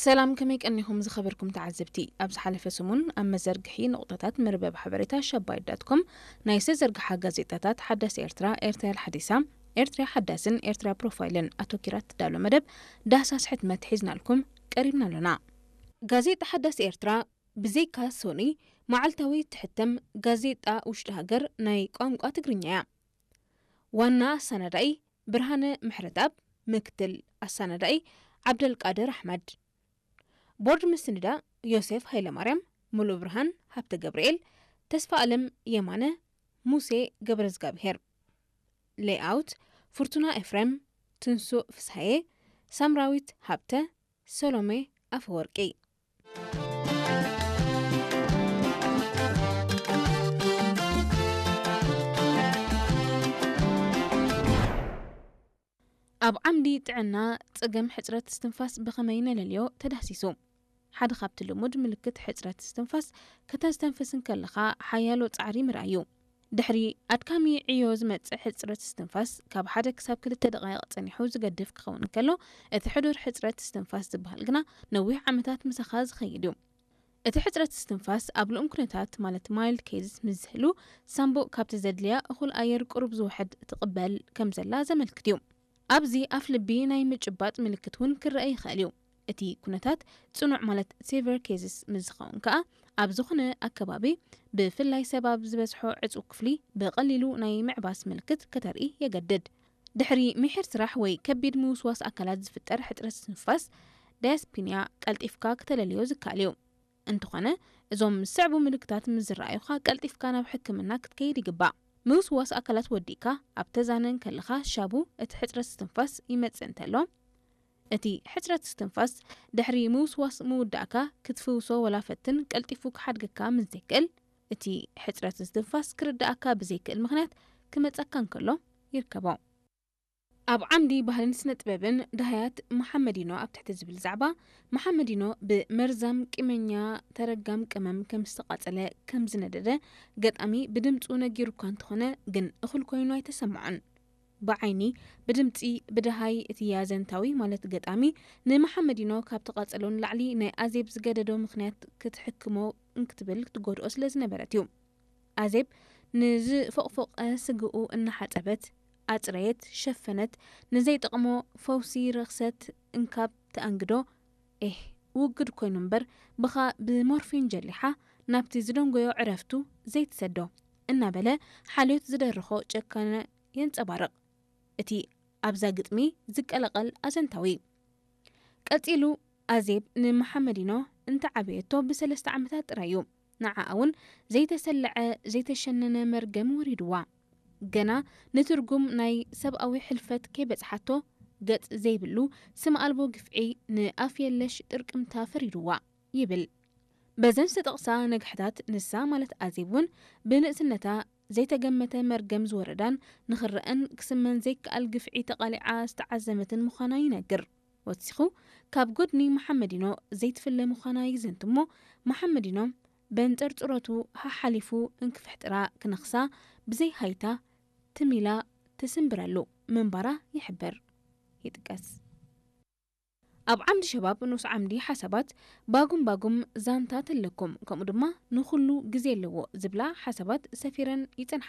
ሰላም፣ ከመይ ቀኒኹም ዝኸበርኩም ተዓዘብቲ? ኣብ ዝሓለፈ ሰሙን ኣብ መዘርግሒ ንቑጣታት መርበብ ሓበሬታ ሸባይት ዳት ኮም ናይ ዝተዘርግሓ ጋዜጣታት ሓዳስ ኤርትራ፣ ኤርትራ ሓዲሳ፣ ኤርትራ ሓዳስን ኤርትራ ፕሮፋይልን ኣተኪራ ትዳሎ መደብ ዳህሳስ ሕትመት ሒዝናልኩም ቀሪብና ኣሎና። ጋዜጣ ሓዳስ ኤርትራ ብዘይካ ሶኒ መዓልታዊ ትሕተም ጋዜጣ ውሽጢ ሃገር ናይ ቋንቋ ትግርኛ እያ። ዋና ኣሰናዳኢ ብርሃነ ምሕረትኣብ፣ ምክትል ኣሰናዳኢ ዓብደልቃድር ኣሕመድ። ቦርድ ምስንዳ ዮሴፍ ሃይለማርያም፣ ሙሉእ ብርሃን ሃብተ ገብርኤል፣ ተስፋ ኣለም የማነ፣ ሙሴ ገብረዝጋብሄር። ሌይኣውት ፍርቱና ኤፍሬም፣ ትንሱእ ፍስሃየ፣ ሳምራዊት ሃብተ፣ ሰሎሜ ኣፈወርቂ። ኣብ ዓምዲ ጥዕና፣ ጸገም ሕጽረት እስትንፋስ ብኸመይ ነለልዮ ተዳህሲሱ። ሓደ ካብቲ ልሙድ ምልክት ሕጽረት እስትንፋስ፣ ከተስተንፍስ እንከለኻ ሓያሎ ጻዕሪ ምርኣይ እዩ። ድሕሪ ኣድካሚ ዕዮ ዝመጽእ ሕጽረት እስትንፋስ፣ ካብ ሓደ ክሳብ ክልተ ደቓይቕ ጸኒሑ ዝገድፍ ክኸውን እንከሎ፣ እቲ ሕዱር ሕጽረት እስትንፋስ ዝበሃል ግና ነዊሕ ዓመታት ምሳኻ ዝኸይድ እዩ። እቲ ሕጽረት እስትንፋስ ኣብ ልኡም ኩነታት፣ ማለት ማይልድ ኬዝስ ምስ ዝህሉ፣ ሳንቡእ ካብቲ ዘድልያ እኹል ኣየር ቁሩብ ዝውሕድ ትቕበል ከም ዘላ ዘመልክት እዩ። ኣብዚ ኣፍ ልቢ ናይ ምጭባጥ ምልክት እውን ክረአ ይኽእል እዩ። እቲ ኩነታት ጽኑዕ፣ ማለት ሴቨር ኬዝስ ምስ ዝኸውን ከኣ፣ ኣብ ዝኾነ ኣከባቢ፣ ብፍላይ ሰብ ኣብ ዝበዝሖ ዕጹው ክፍሊ፣ ብቐሊሉ ናይ ምዕባስ ምልክት ከተርኢ የገድድ። ድሕሪ ምሒር ስራሕ ወይ ከቢድ ምውስዋስ ኣካላት ዝፍጠር ሕጽረት እስትንፋስ፣ ዳያስፒንያ፣ ቀልጢፍካ ክተለልዮ ዝከኣል እዩ። እንተኾነ፣ እዞም ዝስዕቡ ምልክታት ምስ ዝረኣዩኻ፣ ቀልጢፍካ ናብ ሕክምና ክትከይድ ይግባእ። ምውስዋስ ኣካላት ወዲእካ ኣብ ተዛነ እንከለኻ፣ ሻቡ እቲ ሕጽረት እስትንፋስ ይመጽእ እንተሎ፣ እቲ ሕጽረት እስትንፋስ ድሕሪ ምውስዋስ ምውዳእካ ክትፍውሶ ወላ ፈትን፣ ቀልጢፉ ክሓድገካ ምስ ዘይክእል፣ እቲ ሕጽረት እስትንፋስ ክርዳእካ ብዘይክእል ምኽንያት ክመጸካ እንከሎ ይርከቦ። ኣብ ዓምዲ ባህልን ስነ ጥበብን፣ ዳህያት መሓመዲኖ ኣብ ትሕቲ ዝብል ዛዕባ፣ መሓመዲኖ ብመርዛም ቂመኛ ተረጋም ቅመም ከም ዝተቓጸለ፣ ከም ዝነደደ ገጣሚ ብድምጹ ነጊሩ እኳ እንተኾነ፣ ግን እኹል ኮይኑ ኣይተሰምዖን። ብዓይኒ፣ ብድምጺ፣ ብደሃይ እቲ ኣዘንታዊ፣ ማለት ገጣሚ፣ ንመሓመዲኖ ካብ ተቓጸሎ ንላዕሊ ናይ ኣዜብ ዝገደዶ ምኽንያት ክትሕክሞ እንክትብል ትጎድኦ ስለ ዝነበረት እዩ። ኣዜብ ንዝፎቕፎቐ ስግኡ እናሓጸበት፣ ኣጽረየት፣ ሸፈነት፣ ንዘይጠቕሞ ፈውሲ ረኽሰት እንካብ ተኣንግዶ፣ ኤህ፣ ውግድ ኮይኑ እምበር፣ ብኻ ብሞርፊን ጀሊሓ ናብቲ ዝደንጎዮ ዕረፍቱ ዘይትሰዶ፣ እናበለ ሓልዮት ዝደርኾ ጨካነ የንጸባርቕ። እቲ ኣብዛ ግጥሚ ዝቀላቐል ኣዘንታዊ። ቀጺሉ፣ ኣዜብ ንመሓመዲኖ እንተዓበየቶ ብሰለስተ ዓመታት ጥራይ እዩ። ንዓኣ እውን ዘይተሰለዐ፣ ዘይተሸነነ መርገም ወሪድዋ። ገና ንትርጉም ናይ ሰብኣዊ ሕልፈት ከይበጽሓቶ፣ ገጽ ዘይብሉ፣ ስም ኣልቦ ግፍዒ፣ ንኣፍ የለሽ ጥርቅምታ ፈሪድዋ ይብል። በዘን ዝተጠቕሳ ነግሕታት፣ ንሳ ማለት ኣዜብ እውን ብንእስነታ ዘይተገመተ መርገም ዝወረዳን ንኽረአን ክስመን ዘይከኣል ግፍዒ ተቓሊዓ ዝተዓዘመትን ምዃና ይነግር። ወሲኹ፣ ካብ ጎድኒ መሓመዲኖ ዘይትፍለ ምዃና ይዘንት እሞ፣ መሓመዲኖ በንጸርጽሮቱ ሓሓሊፉ እንክፍሕጥራ ክነኽሳ ብዘይ ሃይታ ትም ኢላ ትስንብረሉ ምንባራ ይሕብር፣ ይጥቀስ። ኣብ ዓምዲ ሸባብ ንኡስ ዓምዲ ሓሳባት፣ ባጉም ባጉም ዛንታት ኣለኩም፣ ከምኡ ድማ ንኹሉ ግዜ ኣለዎ ዝብላ ሓሳባት ሰፊረን ይጸንሓ።